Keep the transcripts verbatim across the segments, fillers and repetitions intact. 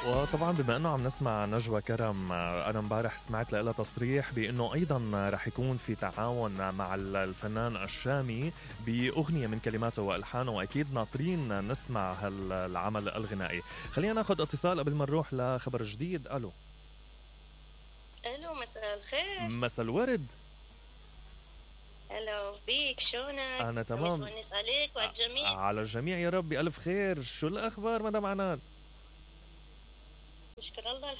وطبعا بما انه عم نسمع نجوى كرم، انا امبارح سمعت لها تصريح بانه ايضا رح يكون في تعاون مع الفنان الشامي باغنيه من كلماته والحانه، واكيد ناطرين نسمع هالعمل الغنائي. خلينا ناخذ اتصال قبل ما نروح لخبر جديد. الو الو مساء الخير. مساء الورد. الو بيك، شلونك؟ انا تمام. مسونس عليك وعلى الجميع. على الجميع يا رب بألف خير. شو الاخبار مدام عنان؟ نشكر الله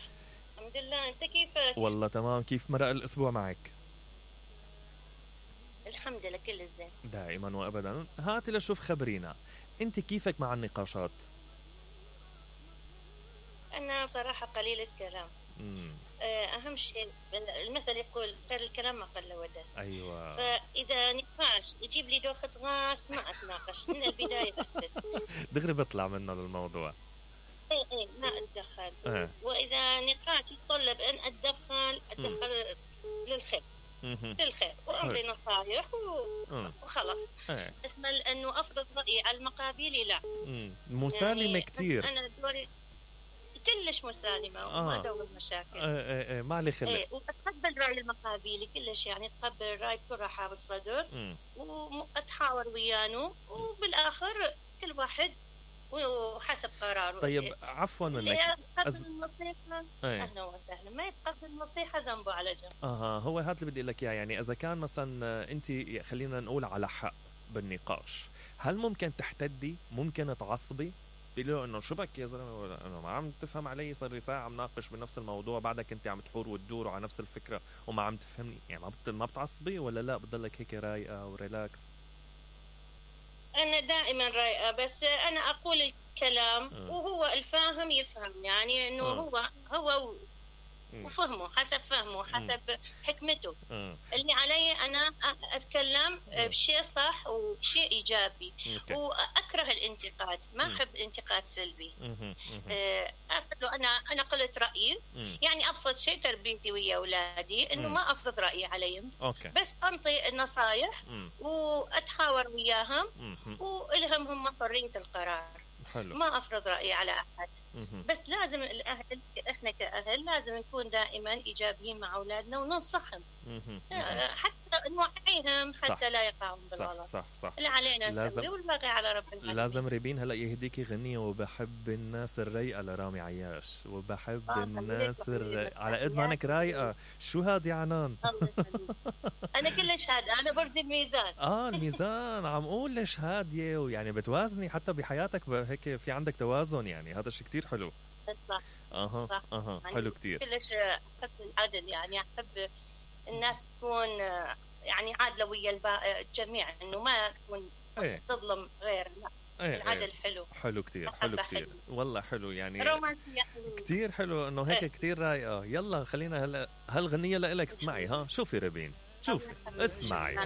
الحمد لله. انت كيفك؟ والله تمام. كيف مرق الاسبوع معك؟ الحمد لله كل الزين دائما وابدا. هاتي لشوف خبرينا، انت كيفك مع النقاشات؟ انا بصراحه قليله كلام. امم اهم شيء المثل يقول خير الكلام ما قل ودل. ايوه. فاذا نقاش يجيب لي دوخه راس ما اتناقش من البدايه، اسكت دغري بطلع منه للموضوع. اي اي ما اتدخل. اه. واذا نقاش يتطلب ان اتدخل اتدخل للخير للخير وأمضي نصايح وخلاص. اه. اسمع، لأنه أفرض رأيي على المقابل لا. مسالمة يعني كتير. أنا دوري كلش مسالمة آه. وما أدور مشاكل. اه اه اه ما علي خلق. ايه وأتقبل رأي المقابل كلش، يعني أتقبل الرأي بكل رحاب الصدر وأتحاور ويانه، وبالآخر كل واحد وحسب قراره. طيب عفوا منك، يتقبل أز... النصيحة ايه. أهلا وسهلا، ما يتقبل النصيحة ذنبه على جنب. اها هو هذا اللي بدي لك اياه. يعني اذا كان مثلا انت خلينا نقول على حق بالنقاش، هل ممكن تحتدي؟ ممكن تعصبي؟ بيقول له انه شو بك يا زلمه، انا ما عم تفهم علي، صار لي ساعه عم ناقش بنفس الموضوع، بعدك انت عم تحور وتدور على نفس الفكره وما عم تفهمني، يعني ما بت... ما بتعصبي ولا لا بتضلك هيك رايقه وريلاكس؟ أنا دائما رايقة، بس أنا أقول الكلام أه. وهو الفاهم يفهم، يعني إنه أه. هو هو وفهمه حسب فهمه حسب أه. حكمته. أه. اللي علي أنا أتكلم أه. بشيء صح وشيء إيجابي. أوكي. وأكره الانتقاد، ما أحب الانتقاد سلبي. أه. أقول له أنا أنا قلت رأيي. أه. يعني أبسط شيء تربيتي ويا أولادي إنه أه. ما أفرض رأيي عليهم. أوكي. بس أنطي النصايح أه. وأتحاور وياهم أه. وإلهم هم حرية القرار. حلو. ما أفرض رأيي على أحد. مه. بس لازم الأهل، إحنا كأهل لازم نكون دائما إيجابيين مع أولادنا وننصحهم حتى نوعيهم حتى صح. لا يقعون بالغلط. صح صح صح. اللي علينا نسوي والباقي على رب العالمين. لازم ريبين هلا يهديكي غنية وبحب الناس الرايقة لرامي عياش، وبحب آه الناس الر... على قد ما انك رايقة. شو هاد يا عنان؟ أنا كلش هادية، أنا برد الميزان. آه الميزان عم أقول ليش هادية، ويعني بتوازني حتى بحياتك هيك، في عندك توازن، يعني هذا الشيء كتير حلو. صح. أها صح. أها يعني حلو كتير. كلش أحب العدل، يعني أحب الناس تكون يعني عادلة ويا الجميع، إنه ما تكون ايه. تظلم غير، لا. ايه العدل ايه. حلو حلو كتير حلو كتير حلو. والله حلو، يعني رومانسية حلو كتير حلو إنه هيك ايه. كتير رايقة. يلا خلينا هلا هالغنية لإلك، اسمعي ها. شوفي ربين، شوفي اسمعي.